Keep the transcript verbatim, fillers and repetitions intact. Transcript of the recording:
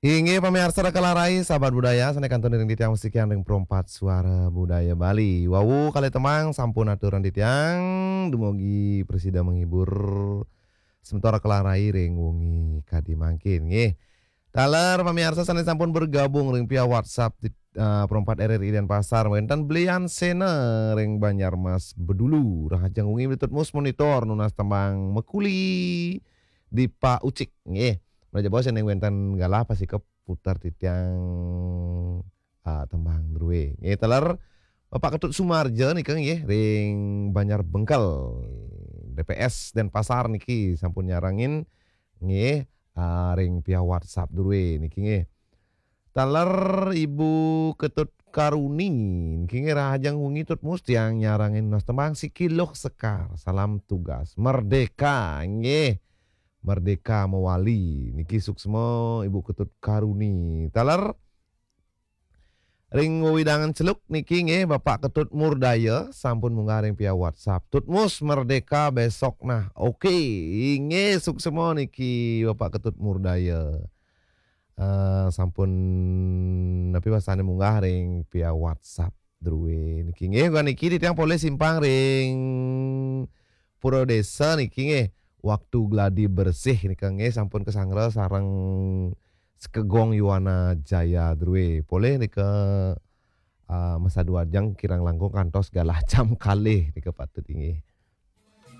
Inggih pamiarsa Raka Larai, sahabat budaya, sané kantun ring titiang masikian ring Pro empat Suara Budaya Bali. Wau kalih tembang sampun aturan titiang, dumugi prasida menghibur semeton Raka Larai ring wengi kadi mangkin, nggih. Taler pamiarsa sané sampun bergabung ring via WhatsApp di, eh, Pro empat R R I Denpasar, wénten Blian Sena ring Banjarmas Bedulu, rahajeng wengi Tut Mus monitor nunas tembang Mekuli Dipa Ucik, nggih. Menawi jaba sané wénten galah pastika puter titiang, ah, tembang drué. Nggih, taler Bapak Ketut Sumarja nika nggih ring Banjar Bengkel, D P S Denpasar niki sampun nyarengin nggih, ah, ring via WhatsApp drué niki nggih. Taler Ibu Ketut Karuni niki nggih, rahajeng wengi Tut Mus, tiang nyarengin nunas tembang Siki Luh Sekar. Salam tugas. Merdeka nggih. Merdeka mewali. Niki suksma Ibu Ketut Karuni. Taler ring wewidangan Celuk niki nggih, Bapak Ketut Murdaya sampun munggah ring via WhatsApp. Tut Mus, merdeka besok nah. Oke, inggih suksma niki Bapak Ketut Murdaya. Eh, sampun napi wastané munggah ring via WhatsApp drué niki nggih. Niki titiang polih simpang ring Pura Désa niki nggih. Waktu gladi bersih nika nggih sampun kasanggra sareng Sekegong Yuwana Jaya drué. Polih nika, ah, masadu ajeng kirang langkung kantos galah jam kalih nika patut inggih.